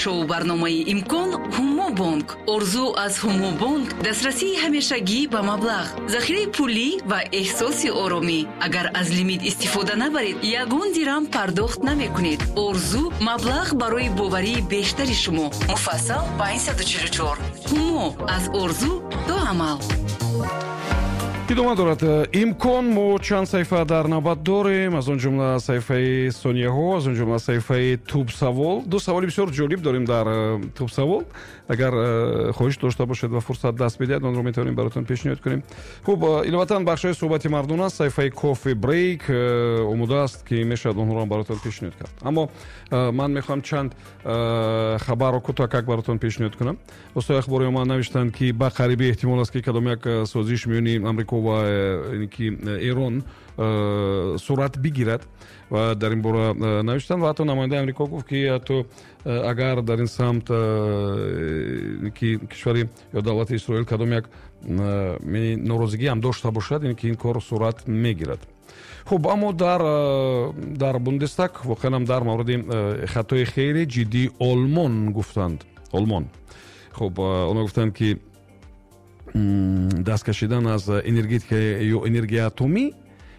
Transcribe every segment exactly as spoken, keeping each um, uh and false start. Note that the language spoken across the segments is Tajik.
Шоу барномаи «Имкон» Ҳумо Бонк. Орзу аз Ҳумо Бонк дастрасии ҳамешагӣ ба маблағ, захираи пулӣ ва эҳсоси оромӣ. Агар аз лимит истифода набаред, ягон дирам пардохт намекунед. Орзу маблағ барои боварии бештари шумо. Муфассал панҷсаду чилу чор. Ҳумо аз орзу то амал. Идома дорад «Имкон». Мо чанд саҳифа дар навбат дорем, аз он ҷумла саҳифаи сонияҳо, аз он ҷумла саҳифаи тубсавол. Ду саволи бисёр ҷолиб дорем дар э, тубсавол. Агар э, хоҳиш дошта бошед ва фурсат даст бидиҳад, онро метавонем баротон пешниҳод кунем. Хуб, э, иловатан бахшҳои суҳбати мардон аст, саҳифаи кофе брейк омода аст, ки мешавад онҳоро баротон пешниҳод кард. Аммо ман мехоҳам чанд хабарро кӯтоҳакак баротон пешниҳод кунам. Воситаи ахбори омма навиштанд, ки ба қарибӣ эҳтимол аст, ки кадом як созиш миёни Амрико ва э, ки э, Эрон э, сурат бигирад ва дар ин бора навиштанд. Ва ҳатто намояндаи Амрико гуфт, ки ҳатто агар дар ин самт ки кишвари ё давлати Исроил кадом як норозигӣ ҳам дошта бошад, ин ки ин кор сурат мегирад. Хуб, аммо дар дар Бундестаг воқеан ҳам дар мавриди хатои хеле ҷиддии Олмон гуфтанд. Олмон, хуб, онҳо гуфтанд, ки даст кашидан аз энергетика ё энергияи атомӣ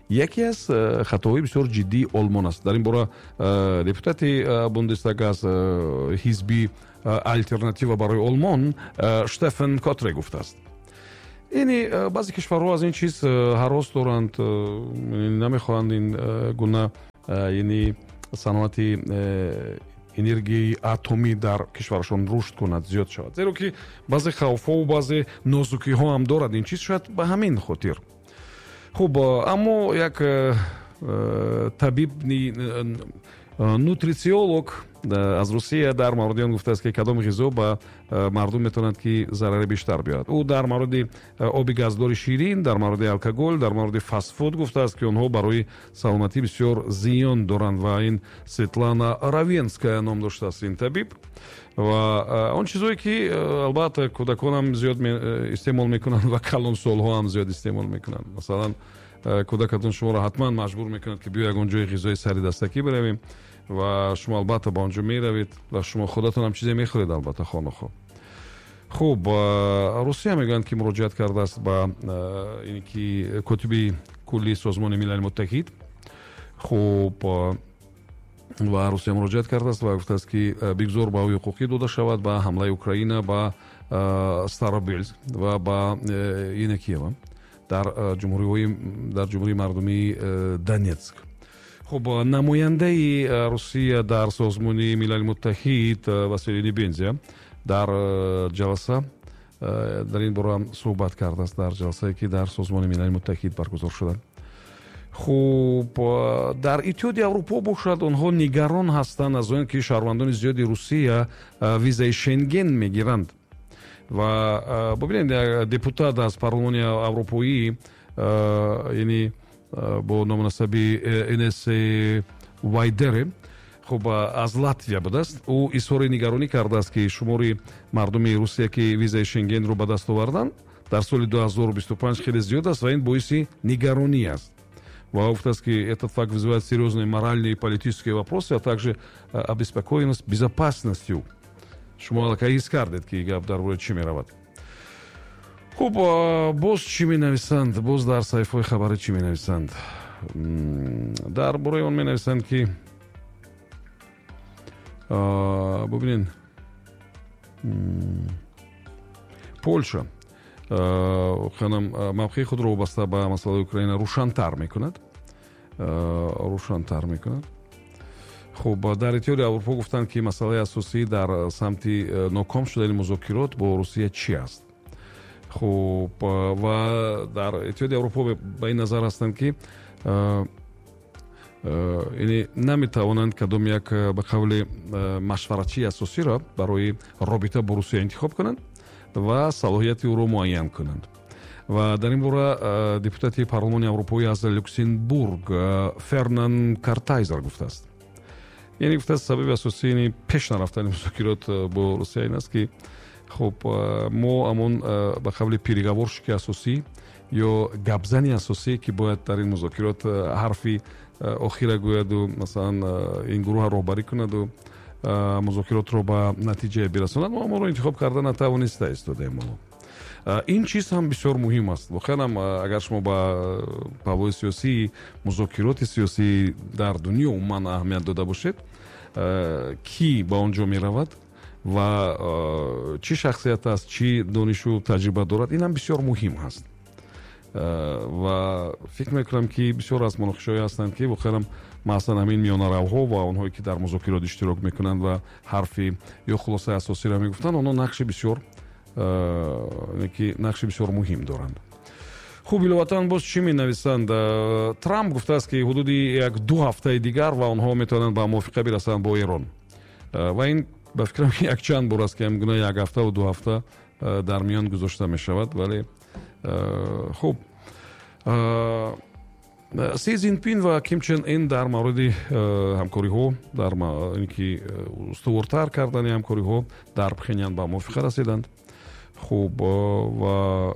яке аз э, хатоҳои бисёр ҷиддии Олмон аст. Дар ин бора э, депутати э, Бундестаг аз ҳизби «Алтернатива барои Олмон» Штефан Котре гуфтааст. Яъне баъзе кишварҳо аз ин чиз ҳарос доранд, намехоҳанд ин гуна, яъне саноати энергияи атомӣ дар кишварашон рушд кунад, зиёд шавад, зеро ки баъзе хавфҳову баъзе нозукиҳо ҳам дорад ин чиз, шояд ба ҳамин хотир. Хуб, аммо як э, э, табиб, э, нутрициолог аз Русия дар мавриди он гуфтааст, ки кадом ғизо ба мардум метавонад, ки зарари бештар биёрад. Ӯ дар мавриди оби газдори ширин, дар мавриди алкоголь, дар мавриди фастфуд гуфтааст, ки онҳо барои саломатӣ бисёр зиён доранд. Ва ин Светлана Равенская ном доштааст ин табиб. Ва он чизое, ки албатта кӯдаконам зиёд истеъмол мекунанд ва калонсолҳо ҳам зиёд истеъмол мекунанд. Масалан, кӯдакатон шуморо ҳатман маҷбур мекунад, ки биё, ягон ҷои ғизои сари дастакӣ биравем, ва шумо албатта ба он ҷо меравед ва шумо худатон ҳам чизе мехӯред, албатта, хонухо. Хуб, Русия мегӯянд, ки муроҷиат кардааст ба ин ки котиби кулли Созмони Милали Муттаҳид. Хуб, ва Русия муроҷиат кардааст ва гуфтааст, ки бигзор баҳои ҳуқуқӣ дода шавад ба ҳамлаи Украина ба Старобельск ва ба Енакиева дар ҷумҳуриҳои дар Ҷумҳурии Мардумии Донецк. Хуб, намояндаи Русия дар Созмони Милали Муттаҳид Василий Небензя дар ҷаласа дар ин бора суҳбат кардааст, дар ҷаласае, ки дар Созмони Милали Муттаҳид баргузор шуда. Хуб, дар Иттиҳоди Аврупо бошад, онҳо нигарон ҳастанд аз он ки шаҳрвандони зиёди Русия визаи Шенген мегиранд. Ва бубинед, депутат аз Парлумони Аврупоӣ, яъне бо ному насаби Инес Вайдере, хуб, аз Латвия будааст, ӯ изҳори нигаронӣ кардааст, ки шумори мардуми Русия, ки визаи Шенгенро ба даст оварданд, дар соли ду ҳазору бисту панҷ хеле зиёд аст ва ин боиси нигаронӣ аст. Ва гуфтааст, ки этот факт вызывает серьезные моральные и политические вопросы, а также обеспокоенность безопасностью. Шумо аллакай ҳис кардед, ки гап дар бораи чӣ меравад. Хуб, боз чӣ менависанд? Боз дар саҳифаҳои хабарӣ чӣ менависанд? Дар бораи он менависанд, ки бубинед, Полша воқеанам мавқеи худро вобаста ба масъалаи Украина рӯшантар мекунад, рӯшантар мекунад. Хуб, дар Иттиҳоди Аврупо гуфтанд, ки масъалаи асосӣ дар самти э, ноком шудани музокирот бо Русия чӣ аст. Хуб, ва дар Иттиҳоди Аврупо ба ин назар ҳастанд, ки э, э, яъне наметавонанд кадом як, ба қавли, машваратчии асосиро барои робита бо Русия интихоб кунанд ва салоҳияти ӯро муайян кунанд. Ва дар ин бора депутати Парлумони Аврупоӣ аз Люксембург Фернан Картайзер гуфтааст. Яъне гуфтааст, сабаби асосии пеш нарафтани музокирот бо Русия ин аст, ки хуб, мо ҳамон, ба қавли, переговорщики асосӣ ё гапзани асосие, ки бояд дар ин музокирот ҳарфи охира гӯяду, масалан, ин гурӯҳа роҳбарӣ кунаду музокиротро ба натиҷае бирасонад, мо ҳамонро интихоб карда натавониста истодаем. Ин чиз ҳам бисёр муҳим аст. Воқеан ҳам, агар шумо ба паҳлӯи сиёсии музокироти сиёсӣ дар дунё умуман аҳамият дода бошед, кӣ ба он ҷо меравад ва чӣ шахсият аст, чӣ донишу таҷриба дорад, ин ҳам бисёр муҳим ҳаст. Ва фикр мекунам, ки бисёр аз муноқишаҳое ҳастанд, ки воқеан маъсан ҳамин миёнаравҳо ва онҳое, ки дар музокирот иштирок мекунанд ва ҳарфи ё хулосаи асосиро мегуфтанд, онҳо нақши бисёр ки нақши бисёр муҳим доранд. Хуб, иловатан боз чӣ менависанд? Трамп гуфтааст, ки ҳудуди як ду ҳафтаи дигар ва онҳо метавонанд ба мувофиқа бирасанд бо Эрон. Ва ин ба фикрам якчанд бор аст, ки ҳамгуна як ҳафтаву ду ҳафта дар миён гузошта мешавад. Вале хуб, Си Цзинпин ва Ким Чен Ин дар мавриди ҳамкориҳо, дар ки устувортар кардани ҳамкориҳо дар Пхенян ба мувофиқа расиданд. Хуб, ва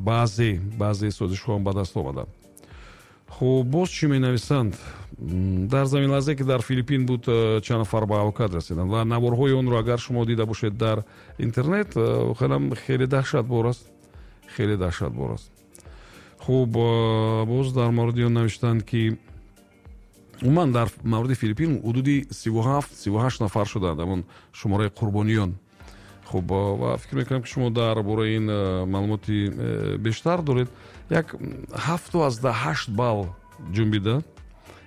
баъзе баъзе созишҳо ҳам ба даст омаданд. Хуб, боз чӣ менависанд? Дар заминларзе, ки дар Филиппин буд, чанд нафар ба ҳалокат расиданд ва наворҳои онро агар шумо дида бошед дар интернет, воқеан хеле даҳшатбор аст, хеле даҳшатбор аст. Хуб, боз дар мавриди он навиштанд, ки умуман дар мавриди Филиппин ҳудуди сиву ҳафт сиву ҳашт нафар шуданд ҳамон шумораи қурбониён. Хуб, ва фикр мекунам, ки шумо дар бораи ин маълумоти бештар доред. Як ҳафту азда ҳашт балл ҷунбида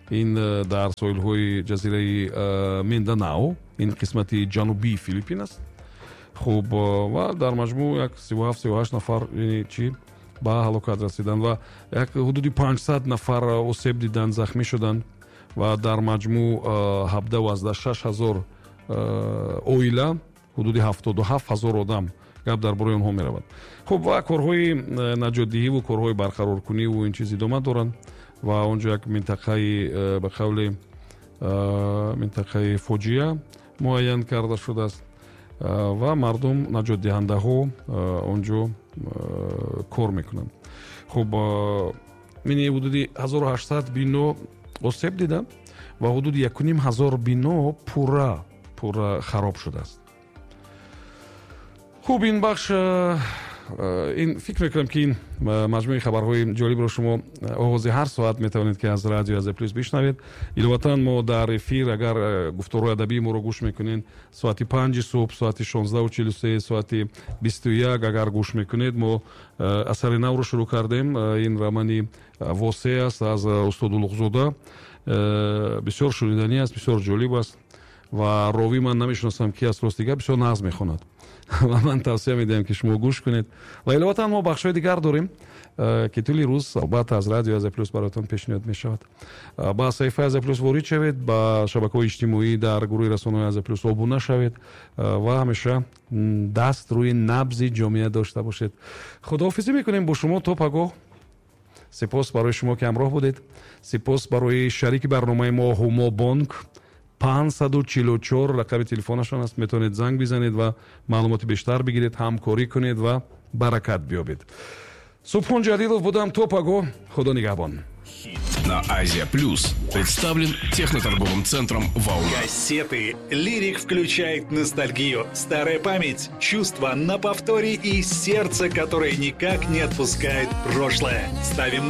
ин дар соҳилҳои ҷазираи Минданао, ин қисмати ҷанубии Филиппин аст. Хуб, ва дар маҷмӯъ як сиву ҳафт сиву ҳашт нафар чи ба ҳалокат расиданд ва як ҳудуди панҷсад нафар осеб диданд, захмӣ шуданд ва дар маҷмӯъ ҳабдаҳу азда шаш ҳазор оила, ҳудуди ҳафтоду ҳафт ҳазор одам гап дар бораи онҳо меравад. Хуб, ва корҳои наҷотдиҳиву корҳои барқароркуниву ин чиз идома доранд ва он ҷо як минтақаи, ба қавли, минтақаи фоҷиа муайян карда шудааст ва мардум, наҷотдиҳандаҳо он ҷо кор мекунанд. Хуб, мини ҳудуди ҳазору ҳаштсад бино осеб дида ва ҳудуди якуним ҳазор бино пурра пурра хароб шудааст. Хуб, ин бахш, ин фикр мекунам, ки ин маҷмӯи хабарҳои ҷолибро шумо оғози ҳар соат метавонед, ки аз радио Азия Плюс бишнавед. Иловатан мо дар эфир, агар гуфторҳои адабии моро гӯш мекунед, соати панҷи субҳ, соати шонздаҳу чилу се, соати бисту як агар гӯш мекунед, мо асари навро шурӯъ кардем. Ин романи Восеъ аст аз устод Улуғзода. Бисёр шуниданӣ аст, бисёр ҷолиб аст ва ровӣ ман намешиносам ки аст, рости гап, бисёр нағз мехонад ва ман тавсия медиҳам, ки шумо гӯш кунед. Ва иловатан мо бахшҳои дигар дорем, ки тӯли рӯз албатта аз радио Азия Плюс бароятон пешниҳод мешавад. Ба саҳифаи Азия Плюс ворид шавед, ба шабакаҳои иҷтимоӣ дар гурӯҳи расонаҳои Азия Плюс обуна шавед ва ҳамеша даст рӯи набзи ҷомеа дошта бошед. Худоҳофизӣ мекунем бо шумо то пагоҳ. Сипос барои шумо, ки ҳамроҳ будед. Сипос барои шарики барномаи мо Ҳумо Бонк. Панҷсаду чилу чор рақами телефонашон аст. Метавонед занг бизанед ва маълумоти бештар бигиред, ҳамкорӣ кунед ва баракат биёбед. Субҳон Ҷалилов будам. То пагоҳ. Худо нигаҳбон. На Азия Плюс представлен техноторговым центром «Волна». Кассеты. Лирик включает ностальгию, старая память, чувства на повторе и сердце, которое никак не отпускает прошлое. Ставим на